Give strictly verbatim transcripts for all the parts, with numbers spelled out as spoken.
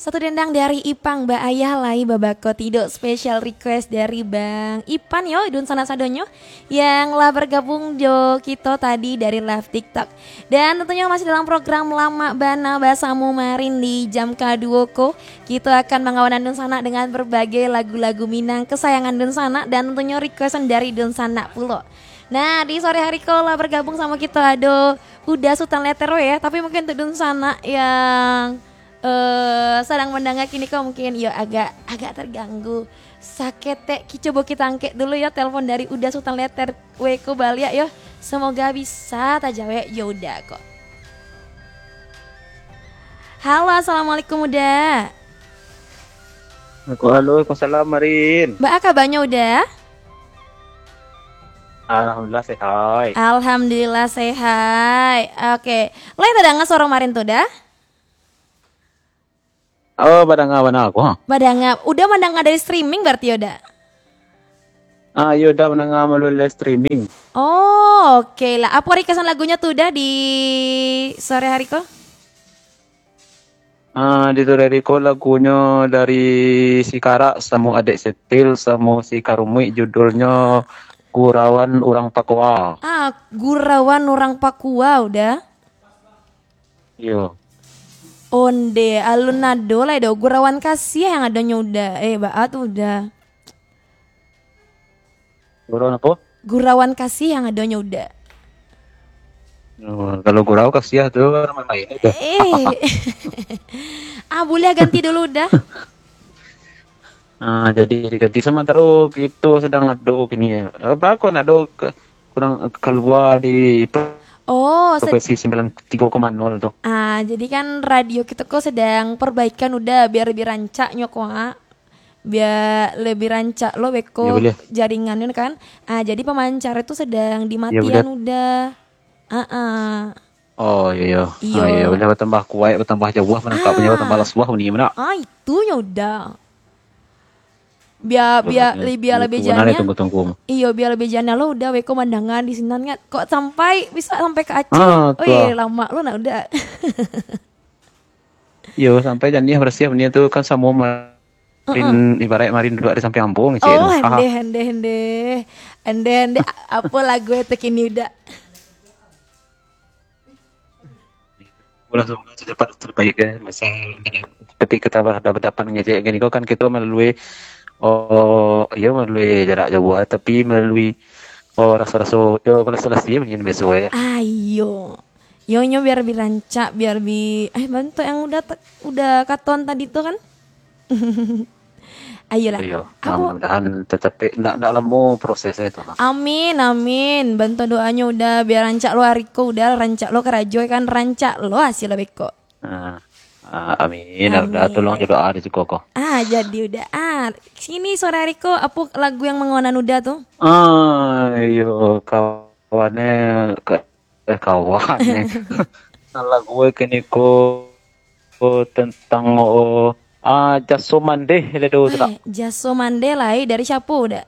Satu dendang dari Ipang, ba ayah lai babako tidok, special request dari Bang Ipan yo, dunsanak sadonyo yang lah bergabung jo kito tadi dari live TikTok. Dan tentunya masih dalam program Lamak Bana basamo Marin di jam kaduo ko. Kito akan mangawanan dunsanak dengan berbagai lagu-lagu Minang kesayangan dunsanak dan tentunya requestan dari dunsanak pulo. Nah, di sore hari ko lah bergabung samo kito ado Uda Sutan Letter weh ya, tapi mungkin untuk dunsanak yang eh, sadang mandanga kini ko mungkin yo agak agak terganggu. Saketek ki-, cubo kita angkek dulu yo telepon dari Uda Sutan Letter weh ko baliak yo. Semoga bisa tajawek yo Uda ko. Halo, assalamualaikum Uda. Halo, waalaikumsalam Marin. Baa kabanyo Uda? Alhamdulillah sehat. Alhamdulillah sehat. Oke, lai tadanga suaro Marin tu Uda? Oh, badanga bana ko. Badanga. Uda mandanga dari streaming berarti Uda? Ah, iyo Uda mandanga malalui live streaming. Oh, oke lah. Apo requestan lagunyo tu Uda di sore hari ko? Ah, di sore hari ko lagunyo dari si Karak samo Adek Setil samo si Karumuik, judulnyo Gurauan Urang Pakua. Ah, Gurauan Urang Pakua Uda? Iyo. Onde, alun ado lai do. Gurauan Kasih yang adonyo Uda. Eh, baa tu Uda? Gurauan apo? Gurauan Kasih yang adonyo Uda. Oh, kalau gurau kasiah tu main-main aja. Eh. Ah, buliah ganti dulu Uda. Ah, jadi diganti samantaro kito sadang ado kini. Apo ko nak ado ke, kurang kalua di Oh, se- frekuensi sembilan tiga koma nol tu. Ah, jadi kan radio kito ko sedang perbaikan Uda, biar lebih rancaknyo ko, ah. Biar lebih rancak lo beko Iyo, buliah. jaringan kan. Ah, jadi pemancar tu sedang Iyo, dimatian buliah. Uda. Ah, ah. Oh, iyo, iyo. Iyo. Ah, iyo, buliah batambah kuaik, batambah jauah, manangkapnyo Ah. batambah lasuah bunyi mah nak. Ah, itunyo Uda. Bia, bia, Buliah. li-, bia Itu lebih benar janiah. Itu tunggu-tunggu. Iyo, bia lebih janiah lo Uda beko mandanga di sinan kan. Kok sampai, bisa sampai ka Aceh? Ah, Oi, tuh. Lama lo nak Uda. Iyo, sampai janiah barasiah bunyi tu kan samo marin, Heeh. ibarat marin duduak di sampiang ambo, ngecek Oh, tu. Haha. Hende, hende, hende. Hende, hende. A-, apo lagu itu kini Uda? Ulah semoga cepat terbaik ya. Masa ketika kita berhadapan-hadapan ngecek gini kok kan kita melalui, oh, iya, melalui jarak jauh, tapi melalui, oh, rasa-rasa, ya, rasa-rasa ya, mungkin biasa ya. Ayo. Yo, nyo biar bi rancak, biar bi, eh, bantuak yang udah te-, udah katon tadi tu kan? Ayolah. Iyo, Aku mudah-mudahan tetap ndak, ndak lamo prosesnya itu. Amin, amin. Bantuak doanyo udah biar rancak lo hari ko, udah rancak lo karajo kan, rancak lo hasil beko. Ah, ah, amin. Udah Amin. tolong jo doa di siko ko. Ah, jadi udah. Ah, sini sore hari ko, apo lagu yang mangawanan udah tu? Ah, iyo, kawannya ke eh, kawan ni. Lagu e kini ko, ko tentang, oh, ah, jaso mandeh le do tu tak? Eh, jaso mandeh lai dari siapo dak?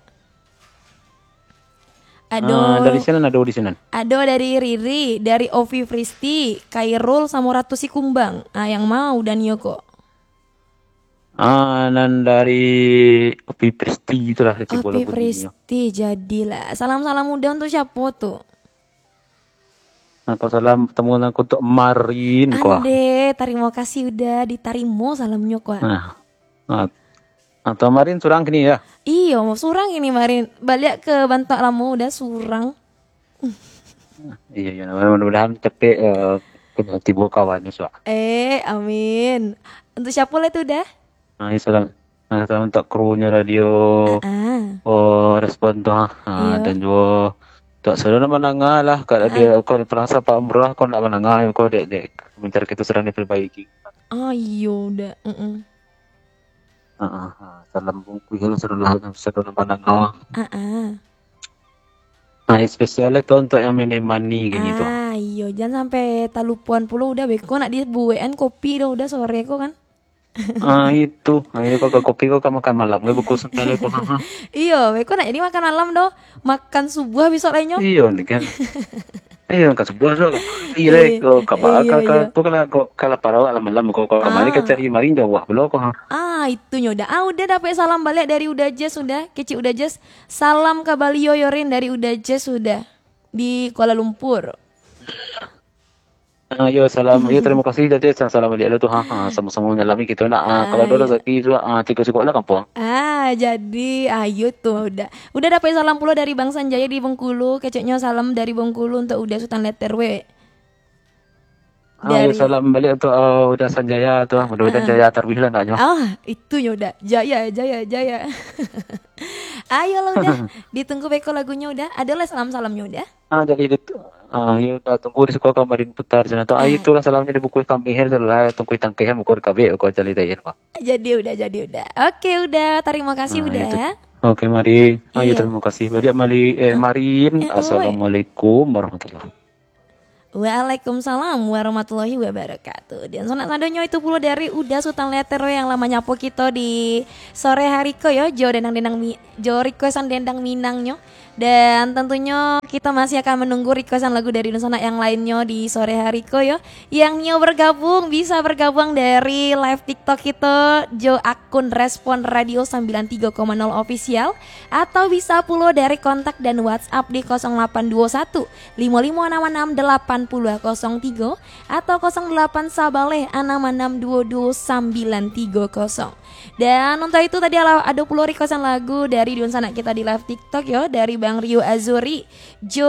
Ado Ah, dari sinan ado di sinan. Ado dari Riri, dari Ovi Fristi, Kairul samo Ratu Sikumbang. Ah, yang mau dan yo ko. Ah, nan dari Opi Presti itulah, Opi Presti, jadilah. Salam-salam udah untuk siapa tu? Nah, kalau salam temu nang untuk Marin, kuah. Ande, terima kasih udah diterima salamnya, kuah. Nah, nah, atau Marin surang kini ya? Iyo, surang ini Marin. Balik ke Bantak Lama udah surang. Iyo, iyo, mudah-mudahan cepek, eh, kena tibo kawan ni, Suak. Eh, amin. Untuk siapa lah tu dah? Nah, iyo, salam. Nah, salam untuk krunya radio. Ah, ah. Oh, respon tu, ha. Ha, Iyo. Dan juga untuk seluruh mendengar lah, kalau dia, Ah. kalau perasa Pak Murah, kau nak mendengar, kau dek, dek. Mencari kita sedang diperbaiki. Ah, iyo, dah. Mm-mm. Ha, ha, ha. Salam bungkuih lah, salam, salam mendengar. Ah, ah. Nah, spesial tu untuk yang mini money gini tu. Ah, iyo, jangan sampai talupuan pulo udah beko nak dibuekan kopi dah udah sore ko kan. Ah, itu. Ah, iyo, kau kopi kau kau makan malam. Kau buku sendal kau. Ha, ha. Iyo, beko nak jadi makan malam doh. Makan subuh besok lainyo. Iyo ni kan. Eh, angka subuah tu. Iyo, ko ka ba-, Iyo, ka, ka, iyo. ko kalau, ko kalau parawak lah malam, ko, ko kamari ka Ah. cari marinda wah pulo ko. Ha. Ah, itu nyo Uda. Ah, Uda dapek salam baliak dari Uda Jess Uda. Kecik Uda Jess. Salam ka balio yo Rin dari Uda Jess Uda. Di Kuala Lumpur. Ah, yo, salam. Yo, terima kasih, jadi salam baliak lah tu. Ha, ha, sama-sama menyalami kita nak. Ah, kalau ada Ayo. Rezeki tu, ah, tiga sikok lah kampung. Ah, jadi ayo tu Uda. Uda dapek salam pulo dari Bang Sanjaya di Bengkulu. Keceknyo salam dari Bengkulu untuk Uda Sutan Letter W. Ah, yo, Dari salam baliak tu, ah, Uda Sanjaya tu. Mudah-mudahan Ah. jaya taruih lah naknyo. Ah, itu nyo Uda. Jaya, jaya, jaya. Ayolah Uda. Ditunggu beko lagunyo Uda. Ado lah salam-salamnyo Uda. Ah, jadi itu, ah, yo, dah tunggu di siko kamarin putar sana tu. Ah, Ah, itulah salamnyo di buku kami, hel lah, tunggu tangkeh buku di kabek, buku cari tayar, Pak. jadi Uda, jadi Uda. Oke Uda, terima kasih Ah, Uda. itu. Oke, mari. Ah, yo, Iya. terima kasih. Baliak mari, eh, Eh, oi. Marin. Assalamualaikum warahmatullahi. Waalaikumsalam warahmatullahi wabarakatuh. Dan sanak sadonyo itu pulo dari Uda Sutan Letter W yang lah manyapo kito di sore hari ko yo, jo dendang-dendang mi-, jo requestan dendang Minangnyo. Dan tentunyo kita masih akan menunggu requestan lagu dari dunsanak yang lainnyo di sore hari ko yo. Yang nio bergabung, bisa bergabung dari live TikTok kito jo akun Respon Radio sembilan tiga koma nol Official, atau bisa pulo dari kontak dan WhatsApp di kosong delapan dua satu lima lima enam enam delapan puluh kosong tiga atau kosong delapan sabaleh anam anam dua dua sambilan tiga kosong. Dan untuk itu tadi ado pulo requestan lagu dari dunsanak kita di live TikTok yo, dari Bang Rio Azuri jo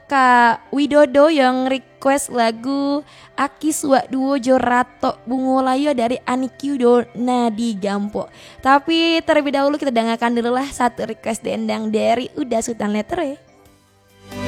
Kak Widodo yang request lagu Aki Suak Duo jo Ratok Bungo Layo dari Ani Kyudo Nadi Gampo. Tapi terlebih dahulu kita dengarkan dulu lah satu request dendang dari Uda Sutan Letter W.